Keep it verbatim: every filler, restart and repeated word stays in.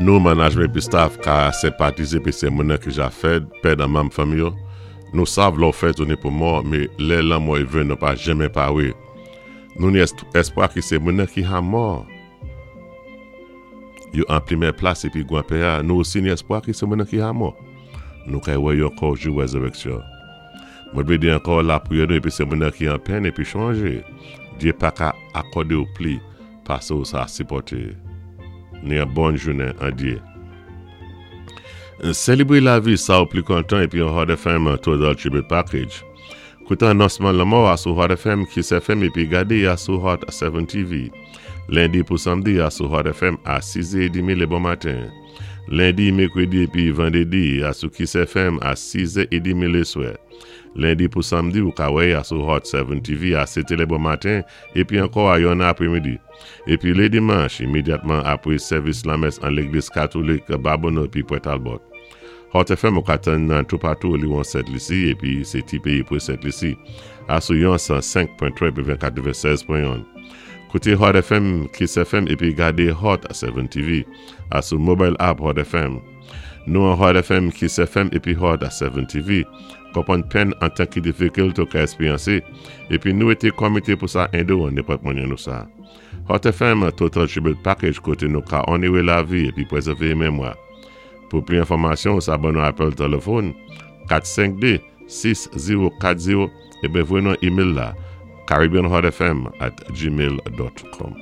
Nou, manajmen épi staff, ka senpatizé épi sé moun-nan ki ja fèd, pèd an manm fanmi yo. Nou sav lò fè tounen pou mò, mé lè lanmò i vin nou pa janmen pawé. Nou ni èspwa ki sé moun-nan ki an mò. Yo an pwémyé plas épi gwan Pè-a, nou osi ni èspwa ki sé moun-nan ki an mò. Nou kay wè yo ankò jou wézéwéksyon. Mwen vlé di ankò lapriyè nou épi sé moun-nan ki an pèn épi chonjé. Dye pa ka akòdé ou pli pasé ou sa sipòté. Ni an bon jounen an Dye. Sélébré lavi sa ou pli kontan épi an Hot F M Total Tribute Package. Kouté anonsman lanmò a sou Hot F M, Kiss F M épi gadé a sou Hot sept T V. Lendi pou samdi a sou Hot F M a sis è trant lé bon maten. Lendi, mèkwédi épi vandédi a sou Kiss F M a sis è trant lé swè. Lendi pou samdi ou ka wè a sou Hot sept T V a sèt lé bon maten épi ankò a yonnè apwémidi. Épi lé dimanch, imédyatman apwé sèvis lamès an légliz katolik Babonneau épi Port Talbot. Hot F M ou ka tann nan toupatou liwon Sent Lisi épi sé ti péyi pwé Sent Lisi. A sou yon san senk pwen twa épi katvensèz pwen yon. Kouté Hot F M, Kiss F M épi gadé Hot sept T V a sou mobile app Hot F M. Nou an Hot F M, Kiss F M épi Hot sept T V. Konpwann pèn an tan ki difikilte ou ka èspéryansé épi nou été komité pou sa édé ou an nenpòt mwanyen nou sa. Hot F M Total Tribute Package koté nou ka onoré lavi épi pwézèvé mémwa. Pou pli enfòmasyon, sa ban nou apèl téléfòn kat senk de, sis zewo kat zewo épi voyé nou email la caribbeanhotfm at gmail dot com.